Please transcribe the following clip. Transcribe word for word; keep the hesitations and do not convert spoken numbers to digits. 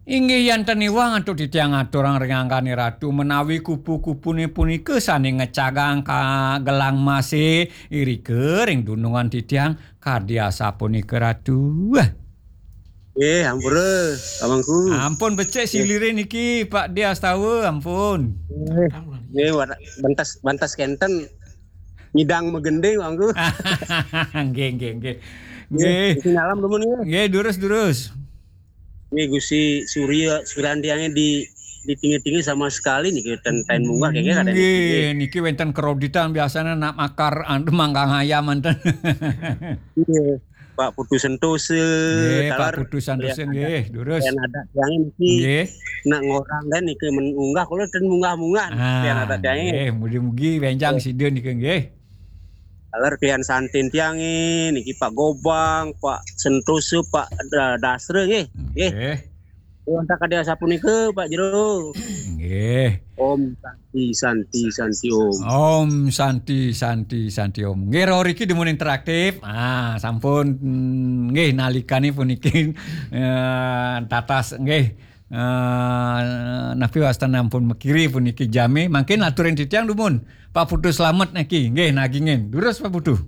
Inggih yan ten iwang antuk titiang aturang ring anggané Ratu menawi kupu-kupune punika sane ngecagang ka gelang mase irika ring dunungan titiang kadi asapunika Ratu. Eh, ampura, Pak Mangku. Ampun becik silire niki Pak Diastawa, ampun. Eh, eh, wara- bantas bantas kenten nyidang magending, Pak Mangku. Nggih, nggih, nggih. Nggih. Isi nyalam dumun ya. Nggih, durus, durus. Nggih, Gusti Surya Suryantiange di di tinggi-tinggi sama sekali nih kita ten munggah kayak ada Nggih, niki wenten kreditan biasanya nak makar anu manggang ayam enten. Iya. Pak Putu Sentosa, Nggih, Pak taler Putu Sentosa yang nggih, durus. Yang ada yang niki Nggih. Nak ngorang kan niki mengunggah kalau ten munggah-munggah. Ah, Yang ada yang nggih, mugi-mugi benjang sida nika nggih. Taler kalian santin tiange niki Pak Gobang, Pak Sentosa, Pak Da- Dasra nggih. Nggih. Nggih. Wonten kadi asapunika Pak Jero. Nggih. Om Santi Santi Santi Om. Om Santi Santi Santi Om. Nggih, rauh riki dumun interaktif. Ah, sampun mm, nggih nalikane puniki eh, tatas nggih. Eh, napi wastan ampun mekiri puniki jame. Mangkin aturin titiang dumun. Pak Putu Slamet niki. Nggih, nagingin. Durus Pak Putu.